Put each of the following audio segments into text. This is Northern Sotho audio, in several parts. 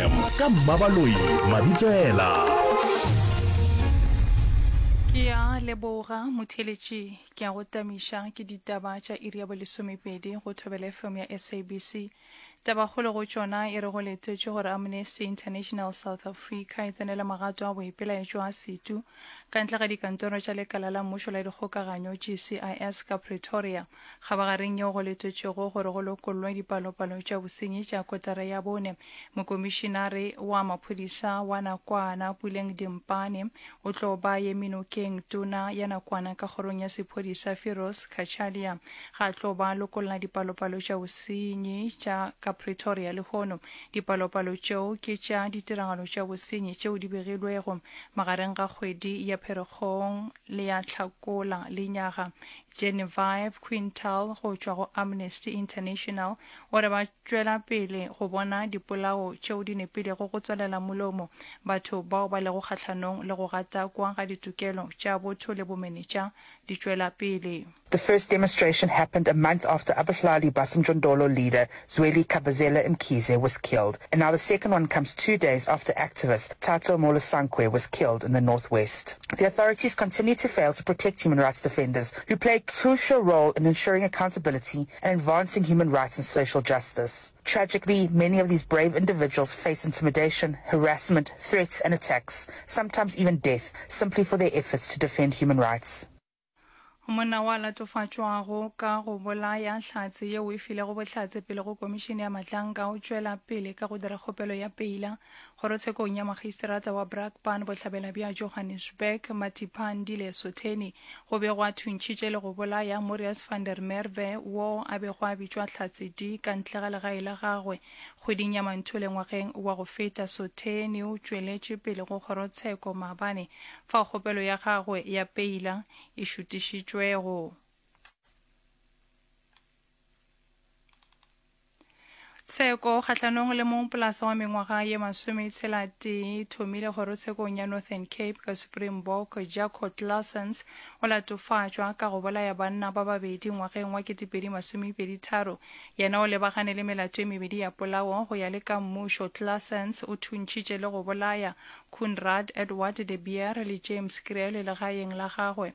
FM ka Mmabaloi Mabitsela. Ke a leboga motheeletši, ke a go tamiša ke ditaba tša iri ya bolesomepedi go Thobela FM ya SABC. Tabakgolo go tšona e re go letetšwe gore Amnesty International South Africa e tsenele magato a boipelaetšo a setu ka ntle ga dikantoro tša lekala la mmušo la dikgokaganyo, GCIS, ka Pretoria. Kgabagareng yeo go letetšwego gore go lokollwe dipalopalo tša bosenyi tša kotara ya bone, mokomišinare wa maphodisa wa nakwana Puleng Dimpane o tlo ba eme nokeng tona ya nakwana ka kgorong ya sephodisa Firoz Cachalia ga a tlo ba lokolla dipalopalo tša bosenyi tša ka Pretoria lehono. Dipalopalo tšeo ke tša ditiragalo tša bosenyi tšeo di begilwego magareng ga kgwedi ya Pherekgong le ya Hlakola lenyaga. Genevieve Quintal go tšwa go Amnesty International o re ba tšwela pele go bona dipolao tšeo di nepilego go tswalela molomo batho bao ba lego kgahlanong le go gatakwa ga ditokelo tša botho le bomenetša di tšwela pele. The first demonstration happened a month after Abahlali baseMjondolo leader Zweli Khabazela Mkhize was killed, and now the second one comes two days after activist Thato Molosankwe was killed in the North West. The authorities continue to fail to protect human rights defenders who play a crucial role in ensuring accountability and advancing human rights and social justice. Tragically, many of these brave individuals face intimidation, harassment, threats and attacks, sometimes even death, simply for their efforts to defend human rights. Monna wa latofatšwago ka go bolaya hlatse yeo e filego bohlatse pele go Komišene ya Matlanka o tšwela pele ka go dira kgopelo ya peila kgorotshekong ya Magistrata wa Brakpan bohlabela bja Johannesburg, Matipandile Sotheni. Go be gwa thuntšhitše le go bolaya Morias van der Merwe wo a bego a bitšwa Hlatse D ka ntle ga legae la gagwe kgweding ya Manthole ngwageng wa go feta. Sotheni o tšweletše pele go kgorotsheko maabane fao kgopelo ya gagwe ya peila e šutišitšwego. Tsheko kgahlanong le mongpolasa wa mengwaga ye masometshela-tee e thomile kgorotshekong ya Northern Cape ka Springbok Jaco Claassens o latofatšwa ka go bolaya banna ba babedi ngwageng wa 2023. Yena o lebagane le melato e mebedi ya polao go ya le ka mmušo. Claassens o thuntšhitše le go bolaya Coenraad Edward de Beer le James Kriel legaeng la gagwe.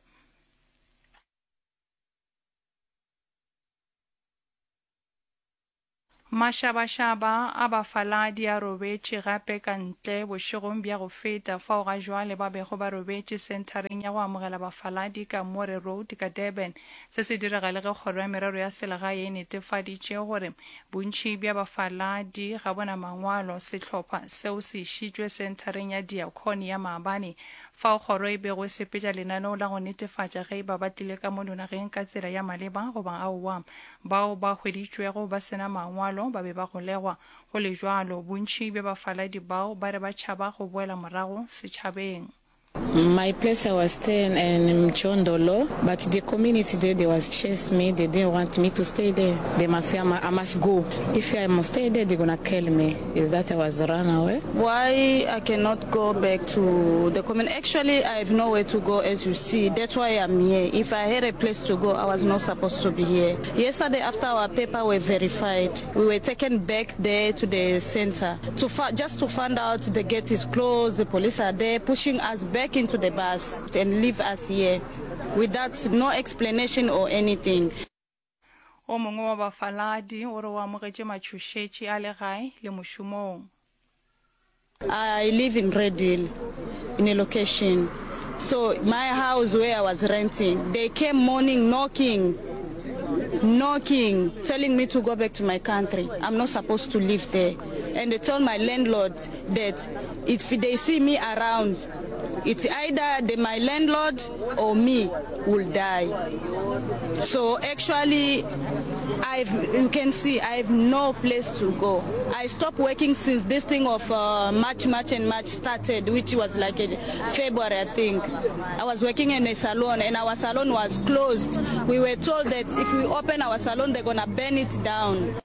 Mašabašaba a bafaladi a robetše gape ka ntle bošegong bja go feta fao ga jwale ba bego ba robetše senthareng ya go amogela bafaladi ka Moore Road ka Durban. Se se direga le ge Kgoro ya Merero ya Selegae e netefaditše gore Bontši bja bafaladi ga bo na mangwalo. Sehlopha seo se išitšwe senthareng ya Diakonia maabane, fao kgoro e bego e sepetša lenaneo la go netefatša ge e ba ba tlile ka mono nageng ka tsela ya maleba goba aowa. Bao ba hweditšwego ba se na mangwalo ba be ba golegwa. Go le bjalo, bontši bja bafaladi bao ba re ba tšhaba go boela morago setšhabeng. My place I was staying in Mjondolo but the community there they was chase me they didn't want me to stay there they must say I must go if I must stay there they gonna kill me is that I was run away. Why I cannot go back to the community actually I have nowhere to go as you see that's why I'm here if I had a place to go I was not supposed to be here yesterday after our paper were verified we were taken back there to the center to just to find out the gate is closed the police are there pushing us back into the bus and leave us here without no explanation or anything. O mongwe wa bafaladi o re o amogetše matšhošetši a le gae le mošomong. I live in Redhill in a location so my house where I was renting they came morning knocking knocking telling me to go back to my country I'm not supposed to live there and they told my landlord that if they see me around it's either the, my landlord or me will die so actually I've you can see I have no place to go I stopped working since this thing of uh, March March and March started which was like in February I think I was working in a salon and our salon was closed we were told that if we open our salon they're gonna burn it down.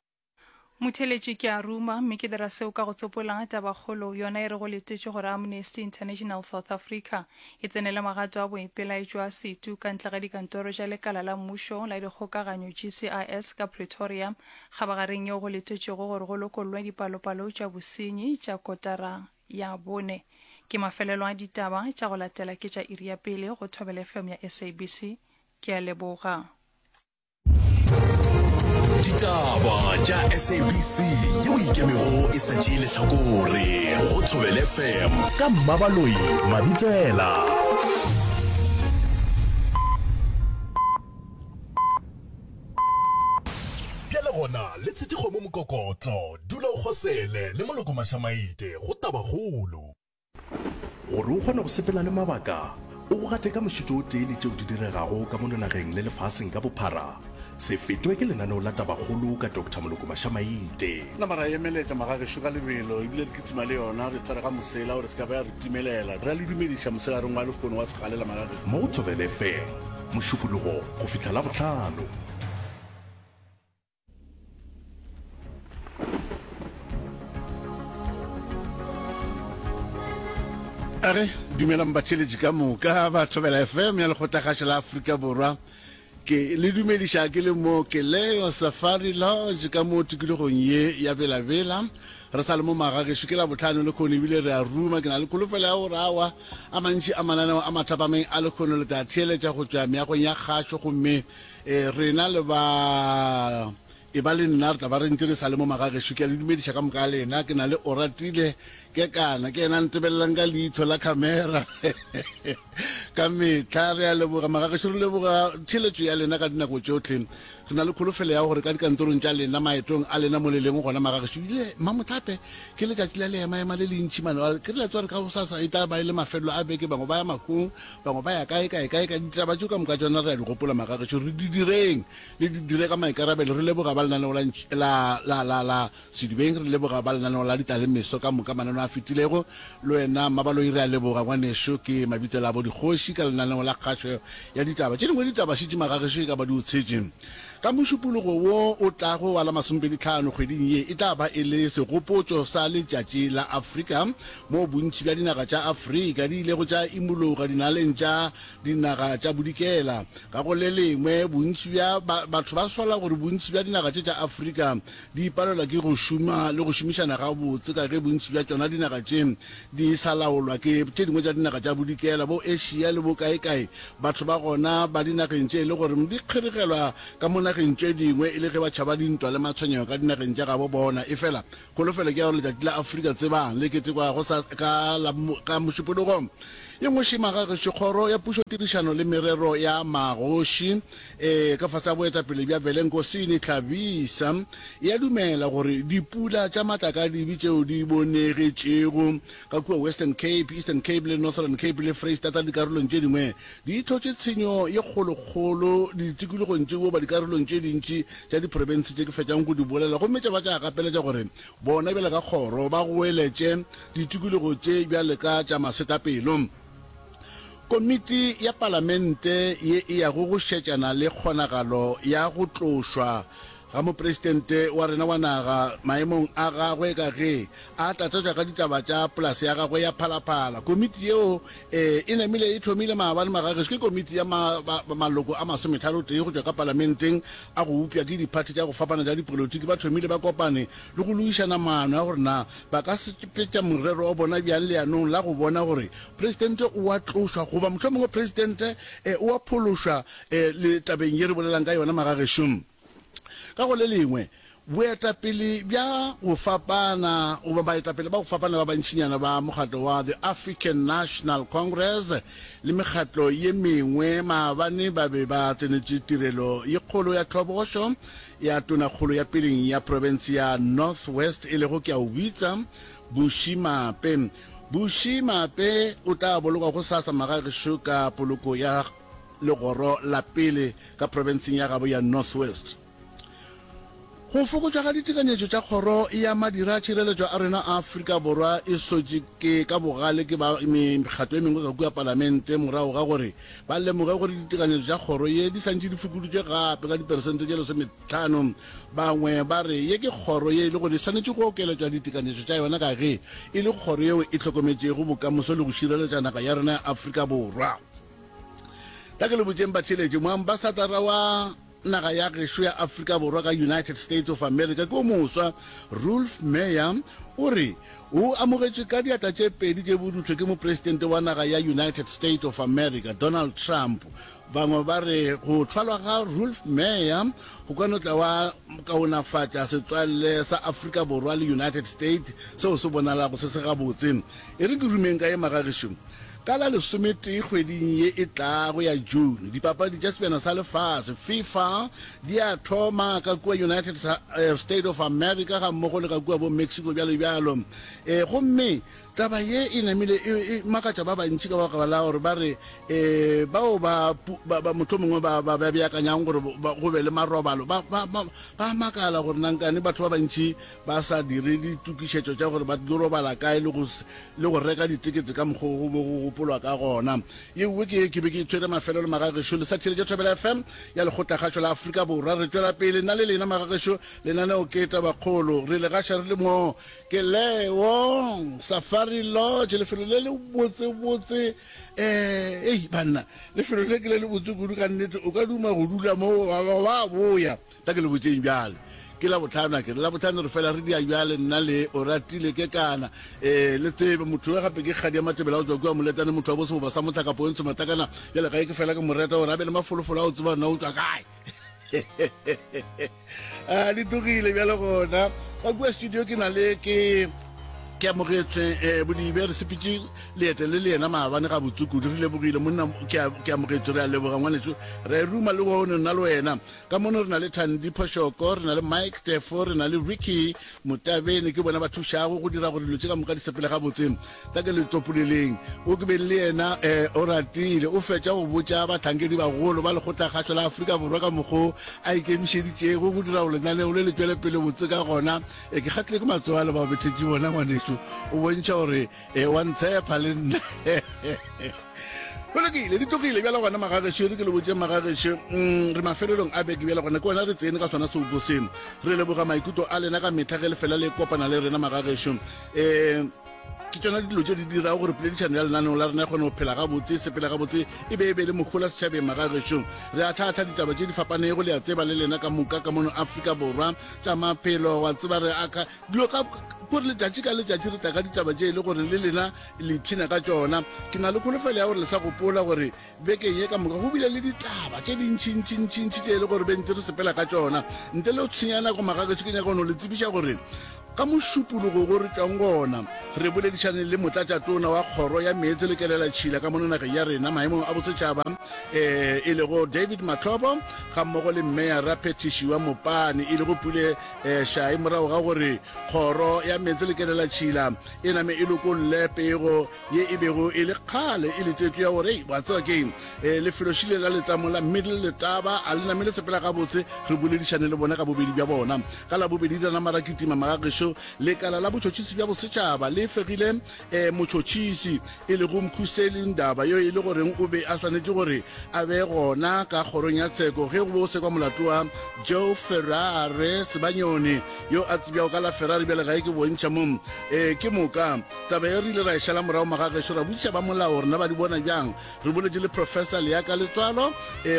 Motheeletši ke a ruma, mme ke dira seo ka go tsopola tabakgolo yona e re go letetšwe gore Amnesty International South Africa e tsenele magato a boipelaetšo a setu ka ntle ga dikantoro tša lekala la mmušo la dikgokaganyo GCIS ka Pretoria kgabagareng yeo go letetšwego gore go lokollwe dipalopalo tša bosenyi tša kotara ya bone. Ke mafelelo a ditaba tša go latela ke tša iri ya pele go Thobela FM ya SABC. Ke a leboga. Ditaba tša SABC yeo e ikemego e sa tšee lehlakore go Thobela FM ka Mmabaloi Mabitsela. Bjale gona le tshetše kgomo mokokotlo, dula o kgosele le moloko mašamaite go tabakgolo. Gore o kgone go sepela le mabaka, o go gate ka mošito o tee le tšeo di diregago ka mono nageng le lefaseng ka bophara, se fetwe ke lenaneo la Tabakgolo ka Doctor Moloko Mašamaite. Nama ra emeletša magagešo ka lebelo ebile re kitima le yona, re tshwere ga mosela gore se ka ba ya re timelela. Re a le dumediša mosegareng wa lehono wa segalela magagešo. Mo go Thobela FM, Mošupologo go fihla Labohlano. A re dumelang batheeletši ka moka ba Thobela FM ya Lekgotlakgašo la Afrika Borwa. Ke le dumediša ke le mo Keleyo Safari Lodge ka mo tikologong ye ya Bela-Bela. Re sa le mo magagešo ke Labohlano lekhono ebile re a ruma. Ke na le kholofelo ya gore awa a mantši a mananeo a mathapameng a lekhono le tla theeletša go tšwa meagong ya kgašo gomme Ee, rena le ba e ba le nna re tla ba re ntše re sa le mo magagešo. Ke a le dumediša ka moka ga lena. Ke na le Oratile Kekana, ke yena a ntebelelang ka leihlo la khamera ka mehla. Re a leboga magagešo, re leboga theeletšo ya lena ka dinako tšohle. Re na le kholofelo ya gore ka dikantorong tša lena, maetong a lena mo le leng gona magagešo, ebile Mmamohlape ke letšatši la leemaema le lentši mane. Ke re la tseba gore ka gosasa e tla ba e le mafelelo a beke, bangwe ba ya mahung, Bangwe ba ya kae, kae, kae, kae. Ditaba tšeo ka moka tšona re a di gopola, magagešo. Re di direng, le di dire ka maikarabelo. Re leboga ba lenaneo la, la, la, la, la Sedibeng, re leboga ba lenaneo la Ditalemeso ka moka, mananeo a fetilego. Le wena Mmabaloi re a leboga, ngwanešu. Ke Mabitsela a bo dikgoši ka lenaneo la kgašo ya ditaba. Tše dingwe ditaba šetše magagešo e ka ba di o tshetše. Ka Mošupologo wo o tlago wa la masomepeditlhano kgweding ye e tla ba e le segopotšo sa Letšatši la Afrika, moo bontši bja dinaga tša Afrika di ilego tša imologa dinaleng tša dinaga tša Bodikela. Ka go le lengwe, bontši bja batho ba sola gore bontši bja dinaga tše tša Afrika di palelwa ke go šoma le go šomišana gabotse ka ge bontši bja tšona dinaga tše di sa laolwa ke tše dingwe tša dinaga tša Bodikela, bo Asia le bo kaekae. Batho ba gona ba dinageng tše e le gore di kgeregelwa ka mo nageng tše dingwe e le ge ba tšhaba dintwa le matshwenyego ka dinageng tša gabo bona. Efela kholofelo ke ya gore letšatši la Afrika tsebang le ketekwa go sa ka la ka Mošupologo. Ye nngwe šema ga gešo Kgoro ya Pušo Tirišano le Merero ya Magoši e ka fase ga boetapele bja Velenkosini Hlabisa e a dumela gore dipula tša matlakadibe tšeo di bonegetšego ka kua Western Cape, Eastern Cape le Northern Cape le Freistata le dikarolong tše dingwe di hlotše tshenyo ye kgolokgolo ditikologong tše goba dikarolong tše dintši tša diprofense tše ke fetšang go di bolela gomme tša ba tša gapeletša gore bona bjale ka kgoro ba goeletše ditikologo tše bjale ka tša masetlapelo. Komiti ya Palamente ye e yago go šetšana le kgonagalo ya go tlošwa ga Mopresidente wa rena wa naga maemong a gagwe ka ge a tlatšatšwa ka ditaba tša polase ya gagwe ya Phalaphala. Komiti yeo e e namile e thomile maabane magagešo ke komiti ya maloko a masometharotee go tšwa ka Palamenteng a go bopša ke diphathi tša go fapana tša dipolotiki ba thomile ba kopane le go logišana maano a gore na ba ka sepetša morero wa bona bjang leanong la go bona gore Presidente o a tlošwa goba mohlomongwe Presidente o a phološwa le tabeng ye re bolelang ka yona magagešo. Ka go le lengwe, boetapele bja go fapana goba baetapele ba go fapana ba bantšinyana ba mokgatlo wa The African National Congress le mekgatlo ye mengwe maabane ba be ba tsenetše tirelo ye kgolo ya tlhobošo ya Tonakgolo ya peleng ya profense ya North West e lego Keaobitsa Bushy Maape. Bushy Maape o tla bolokwa gosasa magagešo ka poloko ya legoro la pele ka profenseng ya gabo ya North West. Go fokotšwa ga ditekanyetšo tša Kgoro ya Madira a Tšhireletšo a rena a Afrika Borwa e sotše ke ka bogale ke ba mekgatlo e mengwe ka kua Palamente morago ga gore ba lemoge gore ditekanyetšo tša kgoro ye di santše di fokoditšwe gape ka diperesente tše lesometlhano. Bangwe ba re ye ke kgoro ye e le gore e swanetše go okeletšwa ditekanyetšo tša yona ka ge e le kgoro yeo e hlokometšego bokamoso le go šireletša naga ya rena ya Afrika Borwa. Tla ke le botšeng batheeletši, moambasatara wa Naga ya gešo ya Afrika Borwa ka United States of America ke o moswa, Roelf Meyer, o re o amogetšwe ka diatla tše pedi tše borutho ke mopresidente wa naga ya United States of America, Donald Trump. Bangwe ba re go thwalwa ga Roelf Meyer go ka no tla wa kaonafatša setswalle sa Afrika Borwa le United States seo se bonalago se se gabotse. E re ke rumeng ka ye magagešo. Ka la lesometee kgweding ye e tlago ya June, dipapadi tša Sebjana sa Lefase, FIFA, di a thoma ka kua United State of America gammogo le ka kua bo Mexico bjalo bjalo. E, gomme taba ye e namile e, e makatša ba bantši ka baka la gore ba re e, bao ba, ba, ba mohlomongwe ba, ba, ba beakanyang gore ba, go be le marobalo ba, ba, ba, ba makala gore nankane batho ba bantši ba sa dire ditokišetšo tša gore ba tlo robala kae le go, le go reka ditekete ka mokgwa go be go gopolwa ka gona. Ye nngwe ke ke be ke tshwere mafelelo magagešo le sa theeletše Thobela FM ya Lekgotlakgašo la Afrika Borwa. Re tšwela pele nna le lena magagešo, lenaneo ke Tabakgolo. Re le gaša re le mo ke Leo Safari Lodge, lefelo le le botsebotse. Eh, ei banna, lefelo le ke le le botse kudu ka nnete, o ka duma go dula mo wa ba boya. Tla ke le botšeng bjale. Ke Labohlano, a ke re? Labohlano re fela re dia bjale, nna le Oratile Kekana. Ee, le tsebe, motho yo gape ke kgadi ya Matebele a go tšwa kua Moletane, motho wa bo seboba sa mohlaka Poentsho Matlakana. Bjale ga e ke fela ke mo reta gore a be le mafolofolo a go tseba gore na o tšwa kae. A di tlogile bjale gona. Ka kua studio ke na le ke ke amogetswe eh, Bodibe, re sepetše leeto le le yena maabane gabotse kudu, re lebogile monna, ke a- ke amogetswe, re a leboga ngwanešu, re ruma le one nna le wena. Ka mono re na le Thandi Phoshoko, re na le Mike Tefo, re na le Ricky Motabene, ke bona ba thušago go dira gore dilo tše ka moka di sepele gabotse. Tla ke le tsopoleleng, o ke beng le yena um o ratile, o fetša go botša bahlankedi bagolo ba Lekgotlakgašo la Afrika Borwa ka mokgo a ikemišeditšego go dira gore lenaneo le le tšwele pele botse ka gona. E, ke kgahlilwe ke matsogo a le bao bethetše bona ngwanešu, o bontšha gore E, wa ntshepa le nna. Go lokile, di tlogile bjale gona magagešo, re ke le botše magagešo, mm, re mafelelong a beke bjale gona, ke gona re tsene ka sona seopo se. Re leboga maikutlo a lena ka mehla ge le fela le kopana le rena magagešo. Um ke tšona dilo tše di dirago gore poledišano ya lenaneo la rena e kgone go phela gabotse, e sepele gabotse, e be e be le mohola setšhabeng magagešo. Re ahlaahla ditaba tše di fapanego, le a tseba le lena ka moka ka mono Afrika Borwa, tša maphelo, wa tseba re aka Dilo ka gore letšatši ka letšatši re tla ka ditaba tše e le gore le lena le ipshina ka tšona. Ke na le kholofelo ya gore le sa gopola gore bekeng ye ka moka go bile le ditaba tše dintšintšintšintši tše e le gore be ntse re sepela ka tšona. Ntle le go tshwenya nako magagešo, ke nyaka go no le tsebiša gore ka Mošupologo go re tšwang gona re boledišane le motlatšatona wa kgoro ya meetse le kelelatšhila ka mono nageng ya rena maemong a bosetšhaba um e lego David Mahlobo gammogo le mmeyara phethiši wa Mopane e lego Pule Šai morago ga gore kgoro ya meetse le kelelatšhila e name e lokolle pego ye e bego e le kgale e letetšwe ya gore wa tseba keng lefelošile la letamo la Middle Letaba a le name le sepela gabotse. Re boledišane le bona ka bobedi bja bona ka Labobedi la nama ra kitima magagešo. Lekala la botšhotšhisi bja bosetšhaba le fegile Motšhotšhisi e lego Mkhuseli Ndaba yo e le goreng o be a swanetše gore a be gona ka kgorong ya tsheko ge go be go sekwa molato wa Joe Ferrare Sebanyoni yo a tsebjago ka la Ferrari bjale ga e ke bontšha mo. Ke moka taba ye re ile ra e šala morago magagešo ra botšiša ba molao gore na ba di bona bjang. Re boletše le Professor Leaka Letswalo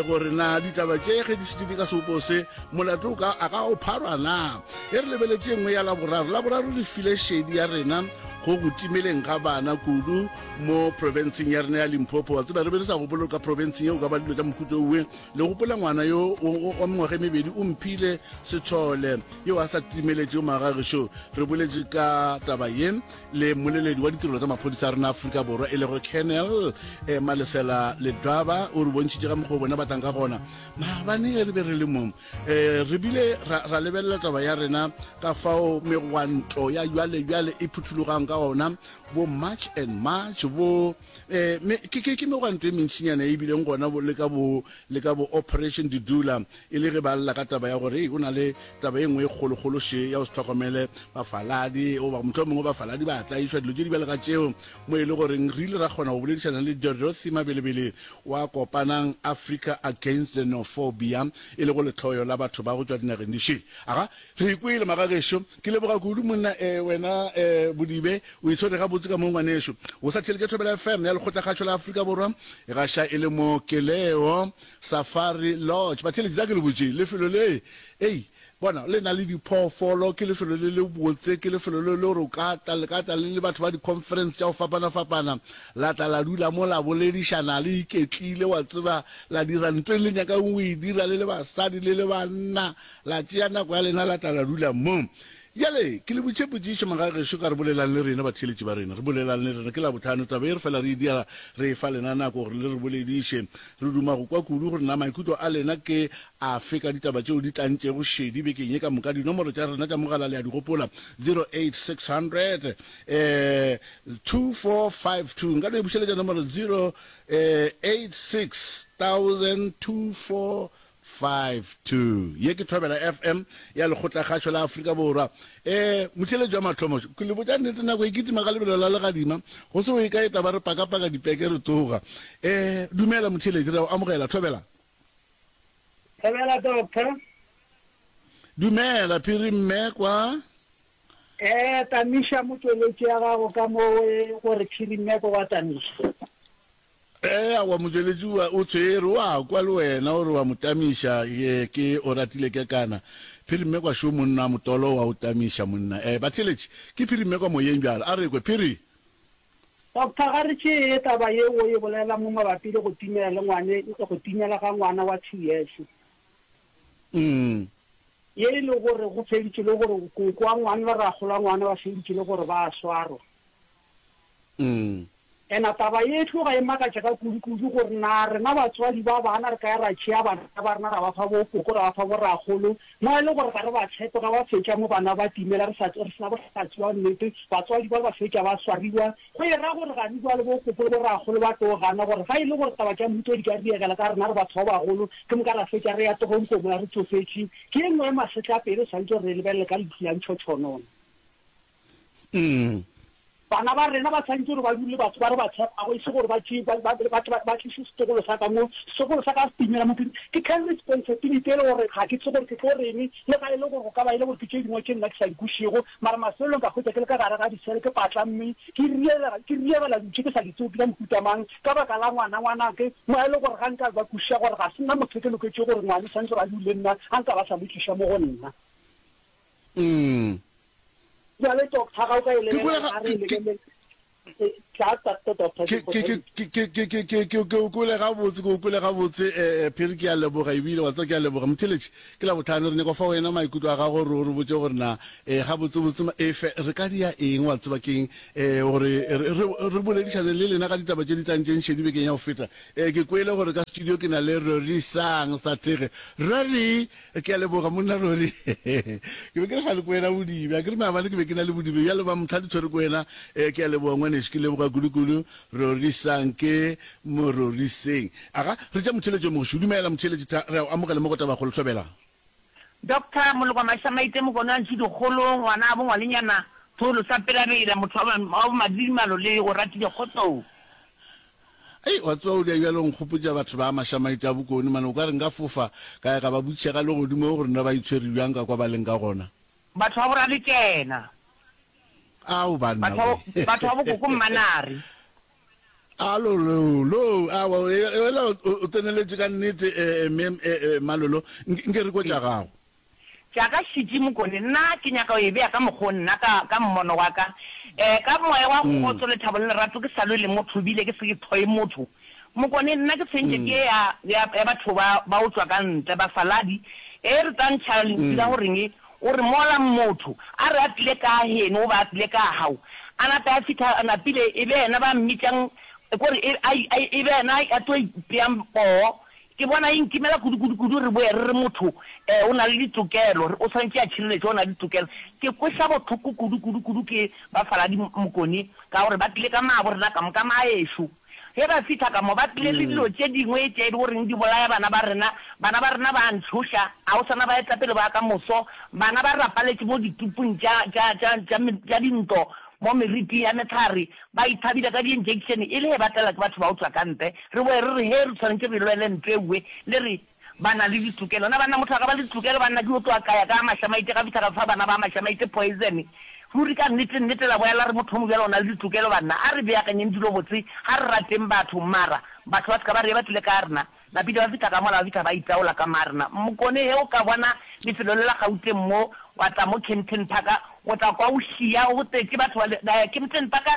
gore na ditaba tše ge di šetše di ka sebopo se, molato o ka a ka o pharwa na. E re lebeletše e nngwe ya Laboraro. Laboraro re file šedi ya rena go go timeleng ga bana kudu mo profenseng ya rena ya Limpopo. Wa tseba re be re sa gopole gore ka profenseng ye o ka ba le dilo tša mohuta owe. Le gopola ngwana yo wa mengwaga e mebedi o mphile Sethole yo a sa timeletšego magagešo. Re boletše ka taba ye le mmoleledi wa ditirelo tsa maphodisa a rena Afrika Borwa e lego Colonel eh, Malesela Ledwaba o re bontšhitše ka mokgwa o bona batlang ka gona. Maabane ge re be re le mo eh, re bile ra, ra lebelela taba ya rena ka fao megwanto ya jwale jwale e phuthologang. ka ona, bo March and March, bo eh, me, ke, ke, ke megwanto e mentšinyana e bileng gona bo, le ka bo, le ka bo Operation Dudula, e le ge ba lla ka taba ya gore ei, go na le taba e nngwe e kgolokgolo še ya go se hlokomele bafaladi, goba mohlomongwe bafaladi ba tlaišwa, dilo tše di bjalo ka tšeo, mo e le goreng re ile ra kgona go boledišana le Dorothy Mabelebele wa Kopanang Africa Against Xenophobia, e lego lehloyo la batho ba go tšwa dinageng di šele. Aga, re ikwele, magagešo. Ke leboga kudu, monna, eh, wena, eh, Bodibe, o itshwere gabotse ka mo, ngwanešu. O sa theeletša Thobela FM ya Lekgotlakgašo la Afrika Borwa, e gaša e le mo Keleo Safari Lodge. Batheeletši, tla ke le botše, lefelo le, ei, bona, le na le diphoofolo, ke lefelo le lebotse, ke lefelo le le gore o ka tla, le ka tla le le batho ba di-conference tša go fapana-fapana, la tla la dula mo, la boledišana le iketlile, wa tseba, la dira ntho e le nyakang go e dira le le basadi le le banna, La tšea nako ya lena la tla la dula mo. Bjale, ke le botše potšišo, magagešo, ka re bolelang le rena, batheeletši ba rena. Re bolelang le rena. Ke Labohlano, taba ye re fela re e dira, re efa lena nako gore le re bolediše. Re duma go kwa kudu gore na maikutlo a lena ke afe ka ditaba tšeo di tlantšego šedi bekeng ye ka moka. Dinomoro tša rena tša mogala le a di gopola, 08600 eh, 2452. Nka no e bušeletša nomoro, 086 2452. 52. Ye ke Thobela FM ya Lekgotlakgašo la Afrika Borwa. E, motheeletši wa mathomo, ke le botša nnete, nako e kitima ka lebelo la legadima, go se go ye kae taba re pakapaka dipeke re tsoga. E, dumela motheeletši, re a o amogela, Thobela. Thobela Doctor. Dumela Phiri mme kwa. E, tamiša motšweletši ya gago ka mo gore Phiri mme kwa wa tamiša. Ee, aowa, motšweletši o, o tshwere, o a kwa le wena o re wa mo tamiša, ye, ke Oratile Kekana. Phiri Mmekwa šo monna, motolo wa o tamiša monna. Ee, batheeletši, ke Phiri Mmekwa moyeng bjalo. A re kwe, Phiri. Doctor, ga re tšee taba ye o e bolela mo mabapi le go timela le ngwane, go timela ga ngwana wa two years. Mm. Ye e le gore go feditše le gore koko wa ngwana le rakgolo wa ngwana ba feditše le gore ba a swarwa. Mm. Ena taba ye e tloga e makatša ka kudu-kudu gore na rena batswadi ba bana re ka ya ra tšea bana ba rena ra ba fa bokoko, ra ba fa borakgolo, mo e le gore ga re ba tshepe, ga ba fetša mo bana ba timela re sa re sena bohlatse bja nnete, batswadi ba ba fetša ba swariwa. Go e ra gore gane bjale bokoko le borakgolo ba tlo gana gore ga e le gore taba tša mmuto di ka riegela ka rena re batho ba bagolo, ke moka ra fetša re ya toronkong mola re tsofetše. Ke e nngwe ya masetlapelo e swanetše gore re e lebelele ka leihlo la ntšhotšhonono. Mm. Bana ba rena ba swanetše gore ba dule le batho ba re ba tshepago, e se gore ba tšee, ba, ba, ba tle ba tliše setlogolo sa ka mo, setlogolo sa ka se timela mo. Ke carry responsibility e le gore ga ke tsebe gore ke tlo reng, le ga e le gore go ka ba e le gore ke tše dingwe tše nna ke sa di kwešego, mara mafelelong ka hwetša ke le ka gare ga disele ke patlamme, ke riegela, ke riegela dilo tše ke sa di tsebe ke tša mohuta mang, ka baka la ngwana ngwanake, mo e le gore ga nka ba kwešiša gore ga se nna motho ke loketše gore ngwana o swanetše gore a dule le nna, a nka ba sa mo tliša mo go nna. Mm. Bjale doctor ga o ka e Ke kwele lebelela ga ga re e ke ke lebelele eh, tla doctor doctor ke ke ke ke ke ke ke ke ke ke o kwele gabotse ke o kwele gabotse eh eh, Phiri ke a leboga ebile wa tseba ke a leboga motheletši ke Labohlano re nyaka go fa wena maikutlo a gago gore o re botše gore na eh gabotsebotse ma- e fe re ka dia eng wa tseba keng eh gore re re re boledišane le lena ka ditaba tše di tlantšeng šedi bekeng ya go feta eh ke kwele gore ka studio ke na le Rorisang Sathege Rory Ke a leboga monna Rory. Ke be ke re gale ko wena Bodibe. A ke re maabane ke be ke na le Bodibe bjale ba motha di tshwere ko wena. Eh, ke a leboga ngwanešu, ke leboga kudu-kudu. Rorisang ke mo roriseng. Aga, re tša motheeletši yo mogoši. Dumela motheeletši tha, re a o amogela mo go Tabakgolo. Thobela. Doctor Molokwa Mašamaite Mokone wa Ntšhidikgolo, ngwana wa bongwalenyana, Tholo sa Pelabela, motho wa wa bomadidimalo le o ratile kgotsong. Ei, wa tseba o dia bjalo o nkgopotša batho ba Mašamaite a Bokone mane, o ka re nka fofa ka ya ka ba botšiša ka legodimo gore na ba itshwere bjang ka kwa ba leng ka gona. Batho ba boraletšena. Ao banna Batho ba we. batho ba bokoko Mmanare. Alo lo lo, awa ela o tseneletše ka nnete eh, mme eh, eh, Malolo, nke re kwe tša gago. Tša ka šetše Mokone, nna ke nyaka go e bea ka mokgwa o nna, ka, ka mmono wa ka. E, ka moya wa kgotso, lethabo le lerato, ke sa lwe le motho ebile ke se ke hloye motho. Mokone, nna ke tshwentše ke ye ya, ya, ya batho ba, ba go tšwa ka ntle, bafaladi. E, re tla ntšha lentšu la go reng, o re mola motho a re a tlile ka geno goba a tlile ka gago, a nape a fihla a napile, e be yena ba mmitšang, ko re e, a, a, e be yena a tlo ipeang poo. Ke bona e nkimela kudu-kudu-kudu re boe re re motho um o na le ditokelo, o swanetše a tšhireletšwe, o na le ditokelo. Ke kweša bohloko kudu-kudu-kudu ke bafaladi Mokone ka gore ba tlile ka maabo rena ka moka maešo. Ge ba fihla ka mo ba tlile le dilo tše dingwe tše e le goreng di bolaya bana ba rena. Bana ba rena ba a ntšhoša, ga o sa na baetapele ba ka moso. Bana ba rapaletše mo ditupung tša, tša, tša, tša, tša dintlo, mo meriting ya mehlare, ba ithabile ka di-injection e le ge ba tlela ke batho ba go tšwa ka ntle. Re boe re re, Hee, re swanetše re lwele ntlo e nngwe. Le re, Ba na le ditokelo. Na banna, motho a ka ba le ditokelo? Banna, ke yo tloga ka ya ka Mašamaite, ka fihla ka fa bana ba Mašamaite poison. Ruri ka nnete, nnete la boya la re motho o mobjalo o na le ditokelo, banna. A re beakanyeng dilo botse, ga re rateng batho, mara batho ba se ka ba re ye ba tlile ka rena. Napile ba fihla ka mola, ba fihla ba itaola ka marena. Mokone, ge o ka bona lefelo le la Gauteng mo, wa tla mo Kempton Park, o tla kwa o šia, go tletše batho ba le, Kempton Park,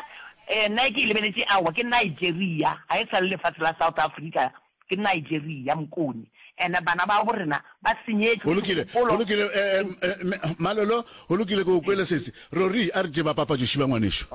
nna e ke e lebeletše, aowa, ke Nigeria, ga e sa le lefatshe la South Africa, ke Nigeria, Mokone. And bana ba bo rena ba senyetšwe Go lokile, go megopolo. lokile, eh, eh, eh, Malolo, go lokile, ke go kwele sesi. Rori, a re tše ba papatšo šiba ngwanešu.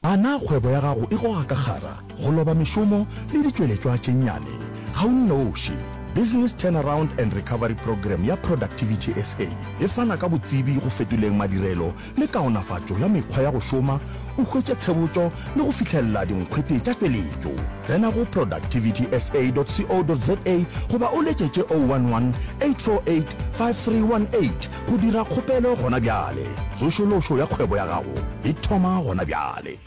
A na kgwebo ya gago e goga ka kgara, go loba mešomo le ditšweletšwa tše nnyane? Ga o nnoši. Business Turnaround and Recovery Programme ya Productivity SA e fana ka botsebi go fetoleng madirelo le kaonafatšo ya mekgwa ya go šoma, o hwetše tshebotšo le go fihlelela dinkgwete tša tšweletšo. Tsena go productivitysa.co.za goba o letšetše 011 848 5318 Go dira kgopelo gona bjale. Tsošološo ya kgwebo ya gago e thoma gona bjale.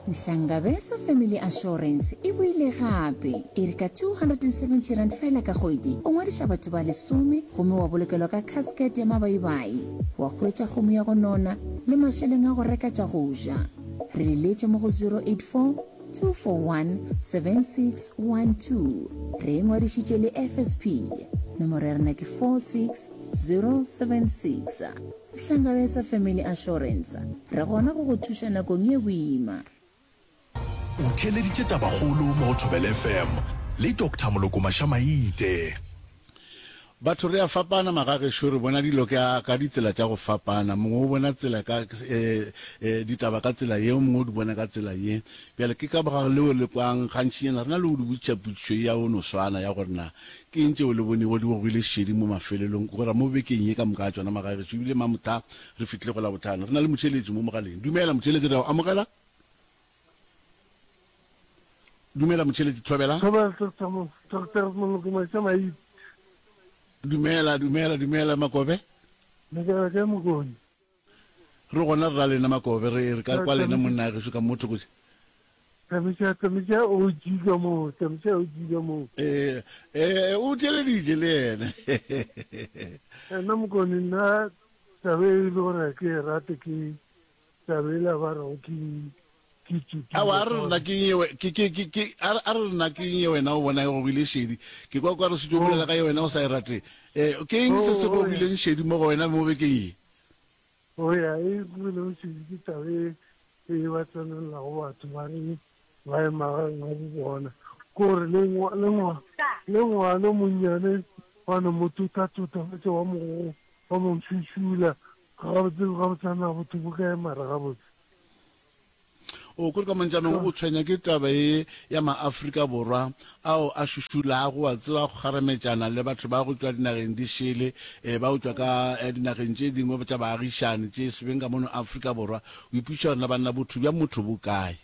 Nhlangabeza Family Assurance e boile gape. E re ka R270 feela ka kgwedi, o ngwadiša batho ba lesome gomme wa bolokelwa ka casket ya mabaibai, wa hwetša kgomo ya go nona le mašeleng a go reka tša go ja. Re leletše mo go 084 241 7612. Re e ngwadišitše le FSP. Nomoro ya rena ke 46 076. Hlangabeza Family Assurance, re gona go go thuša nakong ye boima. O theeleditše Tabakgolo mo go Thobela FM le Doctor Moloko Mashamaite. Batho re a fapana magagešo, re bona dilo ka, ka ditsela tša go fapana. Mongwe o bona tsela ka, e, e, ditaba ka tsela ye, o mongwe o di bona ka tsela ye. Bjale ke ka baka leo le kwang gantšinyana re na le go di botšiša potšišo ye ya go no swana ya gore na Ke eng tšeo le bonego di gogile šedi mo mafelelong, go ra mo bekeng ye ka moka ga tšona, magagešo? Ebile mamohla re fihlile go Labohlano. Re na le motheeletši mo mogaleng. Dumela, motheeletši, re a go amogela. Dumela, motheeletši, thobela. Thobela, Doctor Mo, Doctor Moloko Maša Maite. Dumela, dumela, dumela, Makobe. Le kae, kae Mokone? Re gona re ra lena Makobe, re re ka kwa lena monna gešo ka mo thoko. Tamiša, tamiša OG ka mo, tamiša OG ka mo. Eh, eh, o theeleditše le yena. Nna Mokone, nna taba e le gore ke e rate ke taba e la ba rego ke ke tsutula. Aowa, a re rena ke eng ye, ke, ke, ke, ke, a re, a re rena ke eng ye wena o bona e gogile šedi. Ke kwa o ka re o šetše o bolela ka ye wena o sa e rate. Eh, ke eng se se gogileng šedi mo go wena mo bekeng ye? Go ya e gogilego šedi ke taba e e ba tsenelelago batho ba re ba ye magaeng a bo bona. Ke gore le le le ngwana o monnyane ba no mo totatota ba tše ba mo ba mo šušula gabotse gabotse na botho bo kae mara gabotse. O kore ka montšanong o tshwenya ke taba ye ya maAfrika Borwa ao a šušulago, wa tseba, go kgarametšana le batho ba go tšwa dinageng di šele, eh, ba go tšwa ka eh, dinageng tše dingwe tša baagišani tše se beng ka mono Afrika Borwa. O ipotšiša gore na banna botho bja motho bo kae?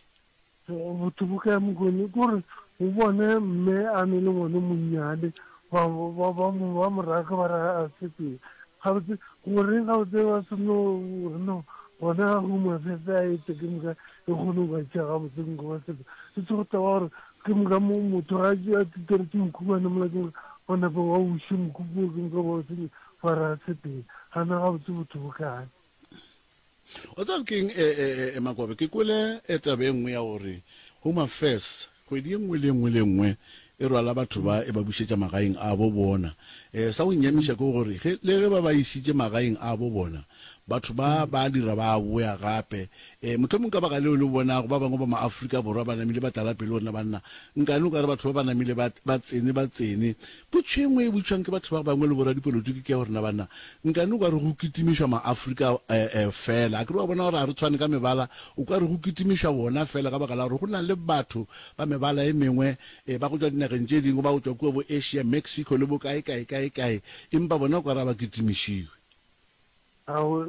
Botho bo kae Mokone? Ke gore o bone mme a ne le ngwana o monnyane, ba, ba, ba, mo, ba mo raka ba re a sepele. Gabotse, goreng gabotse ba se no re no gona Home Affairs a ete ke moka e kgone go ba tšea gabotse nko ba sepe. E se go taba gore ke moka mo motho ga a titeretše mokhukwane mola ke moka ba nape ba wiše mokhukhu wo ke moka ba o senye ba re a sepele. Gana gabotse botho bo kae? O tseba ke eng, e, e, e, e, Makobe, ke kwele e taba e nngwe ya gore Home Affairs kgwedi e nngwe le e nngwe le e nngwe e rwala batho ba e ba bušetša magaeng a bo bona. E, sa go nnyamiša ke gore ge, le ge ba ba išitše magaeng a bo bona, Batho ba ba dira ba a boya gape. E, mohlomong ka baka leo le bonago ba bangwe ba Maafrika Borwa ba namile ba tlala pelo rena banna. Nkane o ka re batho ba ba namile ba, ba tsene, ba tsene. Potšo e nngwe e botšwang ke batho ba bangwe le boradipolotiki ke ya gore na banna, nkane o ka re go kitimišwa Maafrika e, e, fela. Akere wa bona gore ga re tshwane ka mebala, o ka re go kitimišwa bona fela ka baka la gore go na le batho ba mebala e mengwe, e, ba go tšwa dinageng tše dingwe, ba go tšwa kua bo Asia, Mexico le bo kae, kae, kae, kae, empa bona o ka re ga ba kitimišiwe. Ao,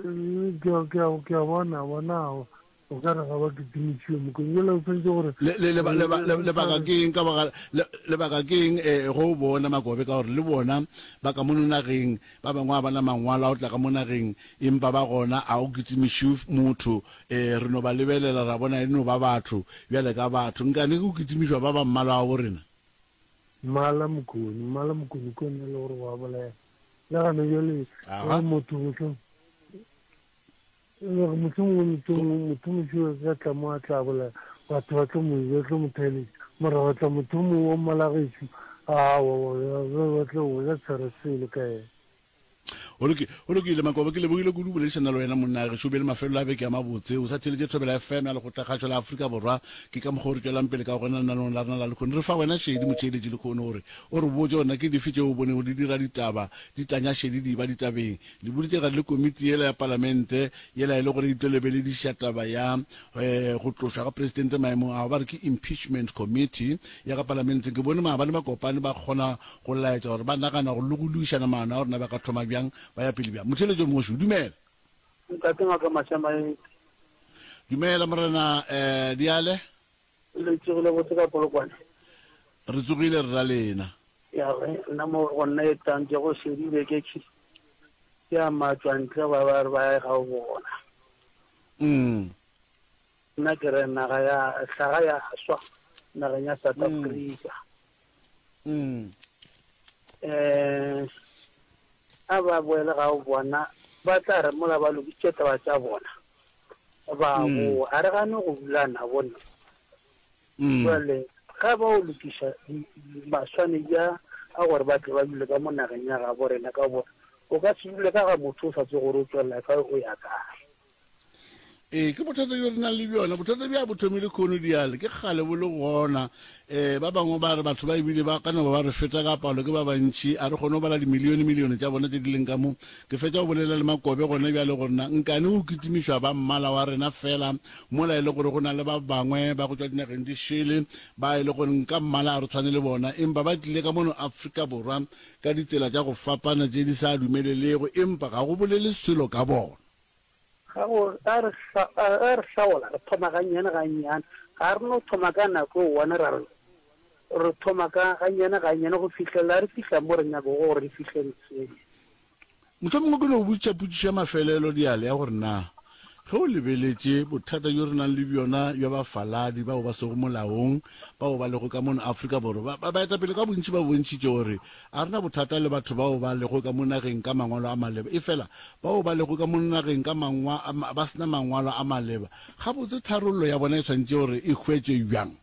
ke a, ke a, ke a bona, bona, ao, o ka re ga ba kitimišiwe mokong. Bjale o swanetše gore. Le, le, leba, leba, le, lebaka ke eng ka baka, le, lebaka ke eng, eh, go bona Makobe, ka gore le bona ba ka mono nageng, ba bangwe ga ba na mangwalo a go tla ka mo nageng, empa ba gona, a go kitimišiwe motho, eh, re no ba lebelela ra bona e no ba batho, bjale ka batho. Nkane go kitimišwa ba ba mmala wa borena? Mmala Mokone, mmala Mokone ke ona e le gore wa bolaya. Le gane bjale Aga. gore motho mohlong gore mohlomongwe motho motho mošo ka tla mo a tla bolaya batho ba tlo mo ba tlo mo theletša mara wa tla motho o mongwe wa mmala gešo awa ba tlo ba tshwara selo ka yena. Go loki, go lokile Makobo, ke lebogile kudu boledišana le wena monna gešo. O be le mafelelo a beke a mabotse. O sa theeletše Thobela FM ya Lekgotlakgašo la Afrika Borwa. Ke ka mokgwa o re tšwelang pele ka gona lenaneong la rena la lehono. Re fa wena šedi motheeletši lehono gore o re botše gore na ke dife tšeo o bonego di dira ditaba di tanya šedi di eba ditabeng. Le boditše gare le komiti yela ya palamente yela e le gore e tlo lebelediša taba ya go tlošwa ga presidente maemong ao ba re ke impeachment committee ya ka palamenteng. Ke bone maabane ba kopane ba kgona Go laetša gore ba nagana go le go lokišana maano a gore na ba ka thoma bjang, ba ya pele bjang. Motheeletši yo mongwe šo, dumela. Ntate Ngaka Mashamaite. Dumela Morena eh, Diale. Le tsogile botse ka Polokwane? Re tsogile re ra lena. Ya re nna mo go nna e tang ke go šedile ke ke ya matšwantle ba ba re ba ya ga bona. Mm. Nna ke re naga ya hlaga ya swa nageng ya South Africa. Mm. Eh, a ba boele ga bona ba tla re mola ba lokisitše taba tša bona ba mm. boa a re gane go dula nabo nna mm. jale ga ba o lokiša maswanedi a a gore ba tle ba dule ka mo nageng ya gabo rena ka gore o ka se dule ka ga motho o sa tse gore o tswelela kae o ya kae Ee, ke bothata bjo re nang le bjona. Bothata bja bo thomile khono diale, ke kgale bo le gona. Um ba bangwe ba re batho ba ebile ba ka no ba ba re feta ka palo, ke ba bantši, a re kgone go bala dimilione-milione tša bona tše di leng ka mo. Ke fetša go bolela le Makobe gona bjale gore na nkane go kitimišwa ba mmala wa rena fela mola e le gore go na le ba bangwe ba go tšwa dinageng di šele ba e le gore nka mmala a re tshwane le bona, empa ba tlile ka mono Afrika Borwa ka ditsela tša go fapana tše di sa dumelelego, empa ga go bolele selo ka bona. Ga go, ga re, ga re hlaola, re thoma gannyane gannyane. Ga re no thoma ka nako e one ra re, re thoma ka gannyane gannyane go fihlelela re fihla mo re nyakago gore re fihle ntseng. Mohlomongwe ke no botšiša potšišo ya mafelelo diale ya gore na ge o lebeletše bothata bjo re nang le bjona bja bafaladi bao ba sego molaong bao ba lego ka mono Afrika Borwa, ba, ba, baetapele ka bontši ba bontšhitše gore A re na bothata le batho bao ba lego ka mo nageng ka mangwalo a maleba, efela bao ba lego ka mo nageng ka mangwa, ba se na mangwalo a maleba, gabotse tharollo ya bona e swanetše gore e hwetšwe bjang?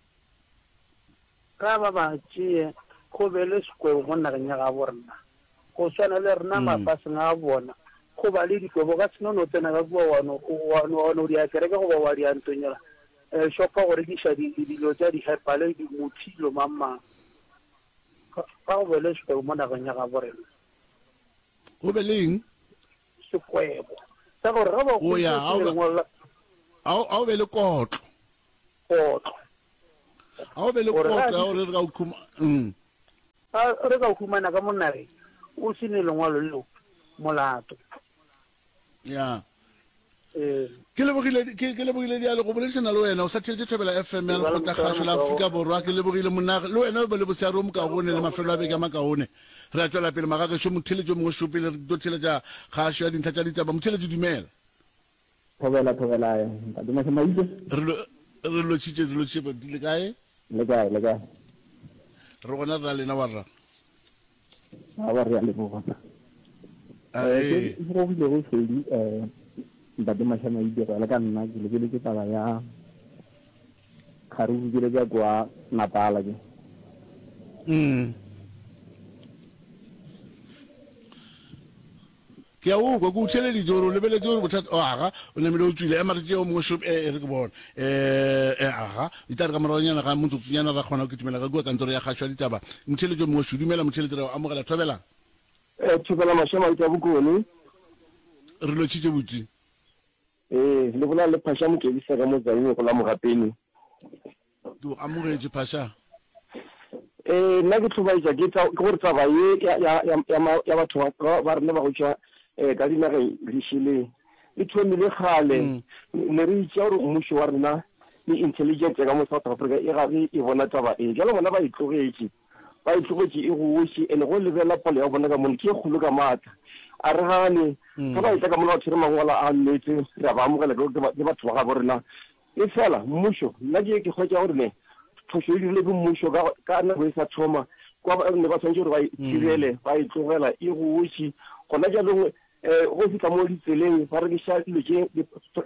Ga ba ba tšee go be le sekwebo mo nageng ya gabo rena, go swana le rena mafaseng a bona, go ba le dikwebo. O ka se no no tsena ka kua wa no, wa no, wa no dia kereke goba wa dia ntong yela, eh, shopo go rekiša di, dilo tša di-herbal, di-muthi, dilo mang mang. Ga go be le sekwebo mo nageng ya gabo rena. Go be le eng? Sekwebo. Sa gore ge ba O ya, hweditše ga o be, lengwalo la. ga o, ga o be le kotlo. Kotlo. Ga o be le Gore ge a kotlo ya gore re ka o khuma. Mm. Ga re ka o humana ka mo nageng o se ne lengwalo leo, molato. Ya. Ke lebogile, ke, ke lebogile diale go boledišana le wena. O sa theletše Thobela FM ya Lekgotlakgašo la Afrika Borwa. Ke lebogile monna, le wena o be le boseare o mokaone le mafelo a beke a makaone. Re a tšwela pele magagešo, motheeletši o mongwe šo pele re tlo theeletša kgašo ya dintlha tša ditaba. Motheeletši dumela. Thobela, thobela, ntate Mašamaite. Re lo, re lotšhitše, re lotšhitše, baruti le kae? Le kae, le kae? Re gona re na lena warra. Aowa re a leboga. Eh, ke go bile go šedi eh ntate Mashamaite go ya le ka nna ke lebeletše taba ya kgaruru ke tša kwa Natala ke. Mm. Ke a o kwa, ke o theeleditše gore o lebeletše gore bothata, oh, aga, o namile o tšwile. Ema re tšee o mongwe šop, e, e re ke bone. E, e, aga, e tla re ka moragonyana ga motsotsonyana ra kgona go kitimela ka kua kantoro ya kgašo ya ditaba. Motheeletši o mongwe šo, dumela motheeletši, re a o amogela. Thobela. E, Thobela Mašamaite a Bokone. Re lotšhitše butši. Ee, le bolela le Phasha Mokebisa ka mo Tzaneen go la Mogapeni. Ke o amogetše Phasha. Ee, nna ke hlobaetša ke tsa, ke gore taba ye ya, ya, ya, ya, ma, ya batho ba, ba, ba rena ba go tšwa eh, ka dinageng di šele e thomile kgale. Mm. Ne re itšea gore mmušo wa rena le intelligence ya ka mo South Africa e gare e bona taba e. Bjale bona ba e tlogetše. Ba e tlogetše e goše, and go lebelela palo ya bona ka mono ke e kgolo ka maatla. A re gane, ge ba etla ka mono ba tshwere mangwalo a nnete, re a ba amogela ke ke batho ba gabo rena. Efela mmušo, nna ke ke hwetša gore ne phošo e dirilwe ke mmušo ka ka nako e sa thoma, kwa ba ne ba swanetše gore ba e thibele, ba e tlogela e goše. Gona bjalong Go fihla mo ditseleng ba rekiša dilo tše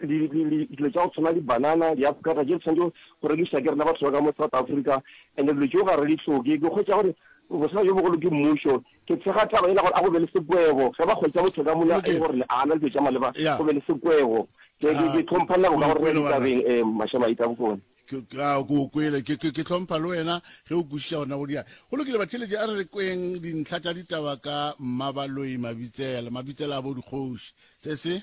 dilo tša go tshwana le banana, diafokata tše di tshwanetše go rekiša ke rena batho ba ka mo South Africa and dilo tšeo ga re di hloke. Ke hwetša gore bothata bjo bogolo ke mmušo. Ke tshega taba yela gore a go be le sekwebo ge ba hwetša motho ka mola e le gore a na le dilo tša maleba go be le sekwebo. Ke hlompha nako ka gore re ditabeng Mašamaita Bokone. Ke, ke, a, ke o kwele. Ke, ke, ke hlompha le wena ge o kwešiša gona go dia. Go lokile, batheeletši, a re re kweng dintlha tša ditaba ka Mmabaloi Mabitsela, Mabitsela a bo dikgoši. Se se.